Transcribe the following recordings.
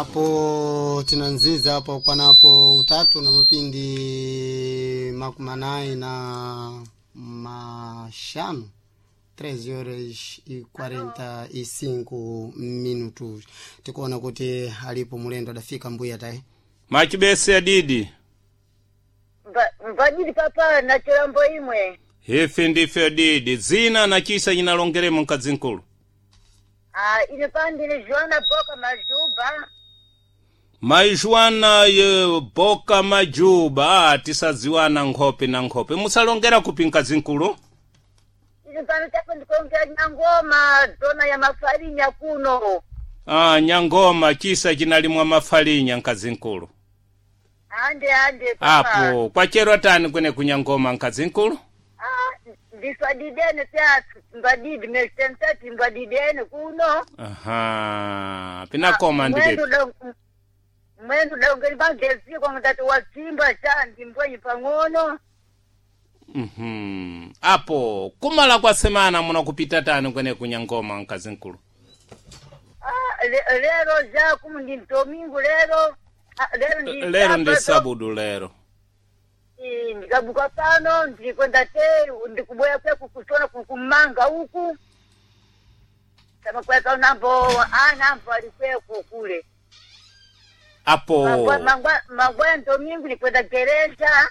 Apo tinanziza apo panapo utatu na mapindi 45 3 horas e 45 minutos. Tikuona kuti alipo mulendo adafika mbuya tayi. Machibese adidi. Mbadidi papa na chilambo imwe. Ife ndife adidi. Zina na chisa nyinalongeremo mkazi nkulu. Ah, ine pandine Joana Boka Majuba. Majuana ye Boka Majuba tisadziwana nkhope na nkhope. Musalongera kupi mkazi nkulu? Ine pano chapo ndikongera Nyangoma zona ya mafarinya kuno. Ah, Nyangoma chisa chinalimwa mafarinya mkazi nkulu. Ande ande papa. Apo kwachero tani kwene kunyangoma mkazi nkulu? Ah, ndiswadidene pyathu mbadidi mesitensati mbadidene kuno. Aha, pinakoma ndipepi. Mwendo dongeri bageziko ngati wazimba cha ndimbwenyi pang'ono. Mhm. Apo kumala kwa semana munakupita tani kwene kunyangoma mkazi nkulu? Ah, lero ja kumu ndi domingo lero. Ah, lero ndi Lero ndi Sabato. sabudu lero. Ndikabuka pano ndilikwenda te ndikubwera kweku kuchona kukumanga uku samakweka nambo anambo alikweku kule. Apo Mangwa domingo ndikwenda gereja.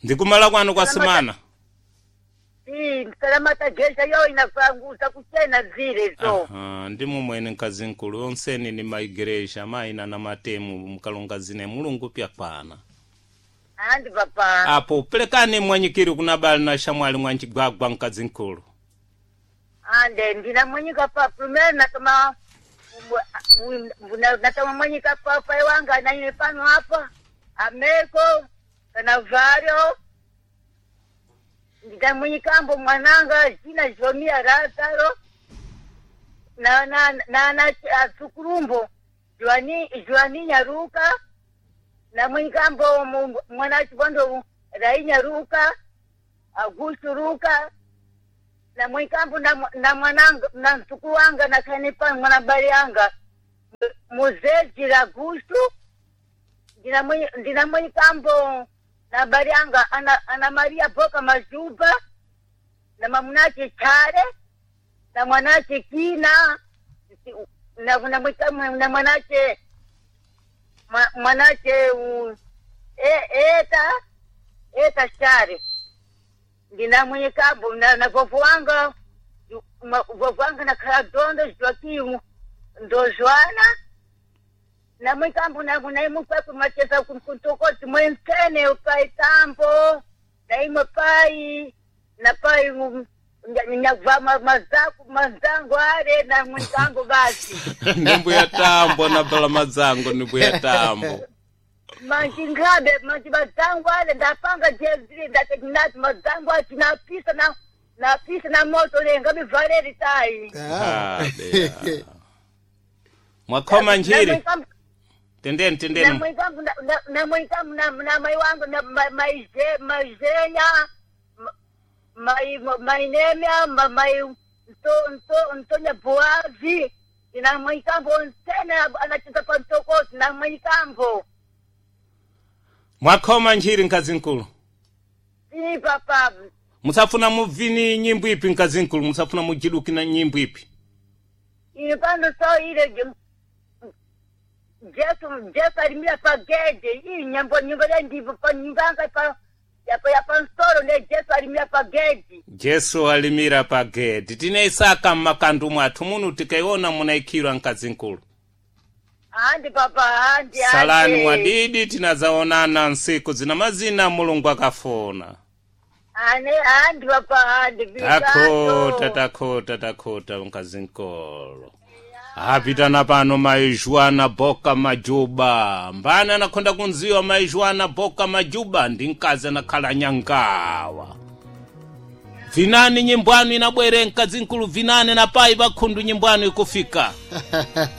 ndikumala kwanu kwa semana. Salamata gereja yo inapanguza kuchena zile zo. Aha, ndimo mwene mkazi nkulu onseni ni maigereja maina na matemu mkalonga zine mulungu pyakwana. Andi papa. Apo pelekani mwanyikiri kuna bali na shamwali mwanchigwagwa mkazi nkulu. Ande ndinamwenyika pa primero natoma natoma mwenyika pa pai wanga naine pano apa ameko kanavario ndinamwenyikambo mwananga jina jomia Lazaro na na na na asukurumbo Joani Joani Nyaruka na mwenyikambo mwana chibondo Rai Nyaruka Augusto Ruka na mwikambo na mwananga na mtukulu wanga na kanipa mwana bali yanga muzeji Augusto ndina mwikambo na bali yanga ana Maria Boka Majuba na mamunache Chare na mwanache Kina na mwikambo na mwanache mwanache eta eta Chare ndina mwenyekambo na vovo wanga vovo wanga nakhala dondo joakimu ndozwana na mwikambo naimukweku macheza kuntokoti mwensene ukaitambo naimwe pai na pai nyagva mazaku mazango ale na mwikambo basi. Ndi mbuya tambo na bala madzango ni mbuya tambo. Manji ngabe manji mazango ale ndapanga jezile ndatekinati mazango ati napisa na napisa na moto lenga mivaleri tai. Ah. Ah, bea. Mwakhoma njiri. Tendeni tendeni. Namwikambo na mai wangu na maizenya mainemya mai ntonya boazi namwikambo nsene anachita pantokoti namwikambo. Mwakhoma njiri mkazi nkulu. Si papa. Musafuna muvini nyimbo ipi mkazi nkulu? Musafuna mujiduki na nyimbo ipi? Ine pano so ile Jesu Jesu alimira pa gede iyi nyambo nyumba ya ndipo pa nyumbanga pa ya pa nsoro ne Jesu alimira pa gede. Jesu alimira pa gedi. Tinaisaka mmakandu mwathu munu tikaiona munaikhirwa mkazi nkulu. Andi papa andi andi. Salani mwadidi tinazaonana nsiku zina mazina mulungu akafuna. Ane andi papa andi. Takhota takhota takhota mkazi nkolo. Apitana pano maizwana Boka Majuba. Mbani anakhonda kunziwa maizwana Boka Majuba ndi mkazi anakhala nyangawa. Vinani nyimbwanu inabwere mkazi nkulu vinani na pai pakhundu nyimbwanu ikufika.